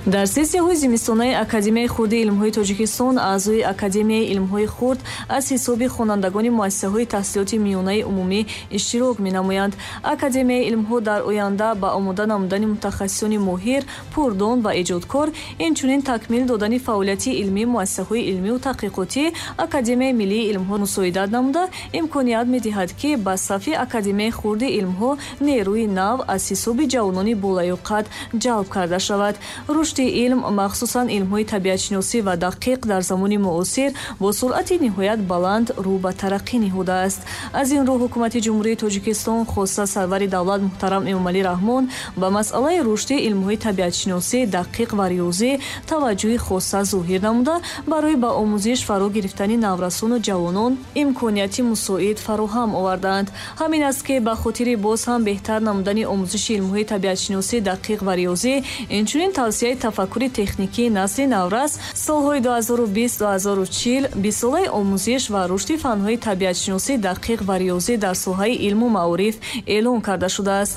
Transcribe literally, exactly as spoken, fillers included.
Дар сессияҳои зимистонаи Академияи хурди илмҳои Тоҷикистон аъзои Академияи илмҳои хурд аз ҳисоби хонандагони муассисаҳои таҳсилоти миёнаи умумӣ иштирок менамоянд. Академияи илмҳо дар оянда ба омода намудани мутахассисони моҳир, пурдон ва эҷодкор, инчунин такмил додани фаъолияти илмии муассисаҳои илмию таҳқиқотӣ Академияи миллии илмҳо мусоидат намуда, имконият медиҳад, ки ба сафи Академияи хурди илмҳо нерӯи нав аз ҳисоби ҷавонони болаёқат ҷалб карда шавад. Рушди илм, махсусан илмҳои табиатшиносӣ ва дақиқ, дар замони муосир бо суръати ниҳоят баланд рӯ ба тараққӣ ниҳодааст. Аз ин рӯ Ҳукумати Ҷумҳурии Тоҷикистон, хоса сарвари давлат муҳтарам Эмомалӣ Раҳмон, ба масъалаи рушди илмҳои табиатшиносӣ, дақиқ ва риёзӣ таваҷҷӯҳи хоса зоҳир намуда, барои ба омӯзиш фаро гирифтани наврасону ҷавонон имконияти мусоид фароҳам овардаанд. Ҳамин аст, ки ба хотири боз ҳам беҳтар намудани омӯзиши илмҳои табиатшиносӣ, дақиқ ва риёзӣ, инчунин тавсияи тафаккури техникии насли наврас, солҳои ду ҳазору бист ду ҳазору чил бистсолаи омӯзиш ва рушди фанҳои табиатшиносӣ, дақиқ ва риёзӣ дар соҳаи илму маориф эълон карда шудааст.